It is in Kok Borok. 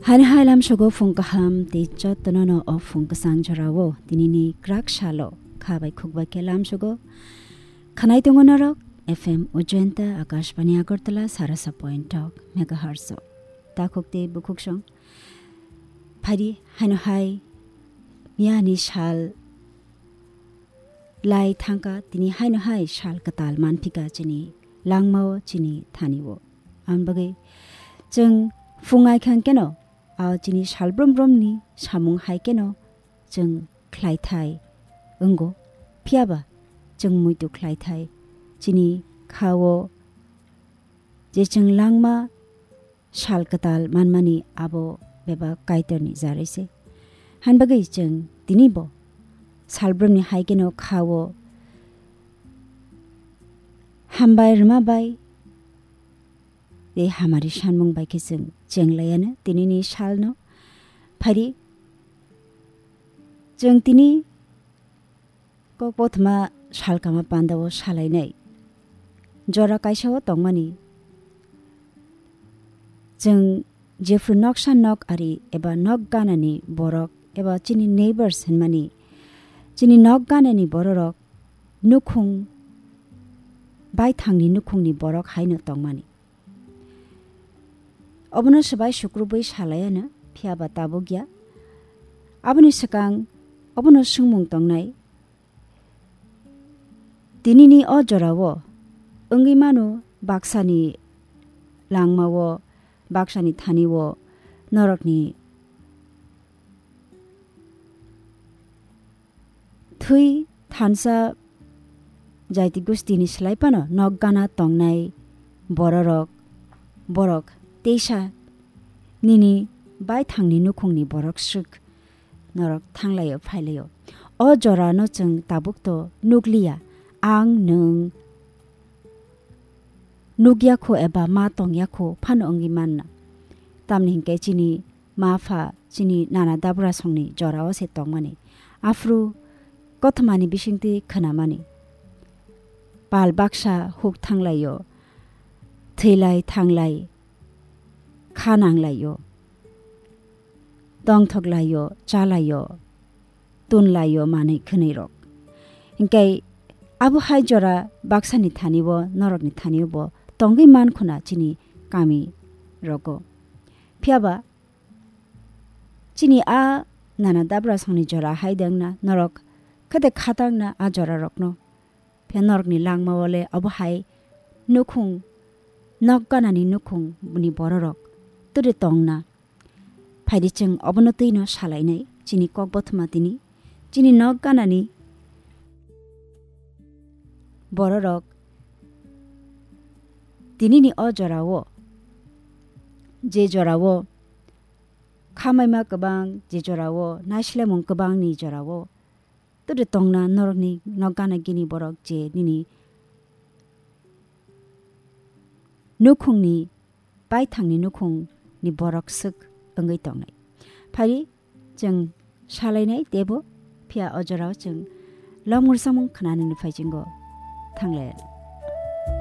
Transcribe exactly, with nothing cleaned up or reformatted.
Haino hai lamsogo phung kaham tei jotono no o phung kwchang jorao tinini krak salo kha bai khuk bai khe lamsogo. Khanai tongo norok F M Ujjayanta Akashbani Agartala sarasa point tok megahertz o. Takhuk tei bukhuk song. Phari haino hai miyani sal lai thangkha, tini haino hai sal kwtal manphika chini langmao, chini thanio. Ang bagwi chwng phungai khang keno, a chini sal brum brumni samung hai keno chwng khlai thai wngo. Phiyaba chwng muitu khlai thai chini khao je chwng langma sal kwtal manmani abo bebak Kaitorni jarwi se. Han bagwi chwng tini bo salbrumni hai keno khao hambai rwma bai tei hamari sanmung bai khe chwng chenglaiano tinini salno. Phari chwng tini Kokbothoma salkama pandao salainai jora kaisao tongmani. Chwng jephru noksa nok ari eba nok ganani borok eba chini neighbors hinmani, chini nok ganani bororok nukhung baithangni nukhungni borok haino tongmani. Obono swbai sukrubwi salaiano, phiyaba tabukya. Aboni swkang obono swngmung tongnai, tinini o jorao wngwi mano baksani langmao, baksani thanio norokni thwi thansa jaiti gustini slai phano nok gana tongnai bororok, borok teisa nini baithangni nukhungni borok swk norok thanglaio, phailaio. O jorano chwng tabuk to nukliya, ang nwng nukya kho eba ma tongya kho phano wngwi manna. Tamni hinkhe chini ma pha chini nana dabra songni jorao se tongmani. Aphuru kothomani bisingtwi khnamani. Pal baksa huk thanglaio, thwilai thanglai, kha nanglaio, tongthoklaio, chalaio, tunlaio manwi khwnwi rok. Hinkhe abo hai jora baksani thani bo, norokni thani bo tongwi man khuna chini kami rogo. Phiyaba chini a nana dabra songni jora hai dengna norok khete khatangna a jora rokno. Phiya norokni langmao le abo hai nukhung, nok ganani nukhung ni bororok turi tongna. Phaidi chwng obono twino salainai chini kokbothoma tini, chini nok ganani bororok tinini o jorao, je jorao khamaima kwbang, je jorao naislemung kwbangni jorao turi tongna norokni nok gana gini borok je nini nukhungni baithangni nukhungni borok swk wngwi tongnai. Phari chwng salainai teibo, phiya o jorao chwng lomngwrsamung khnanani phaichingo thanglaiya.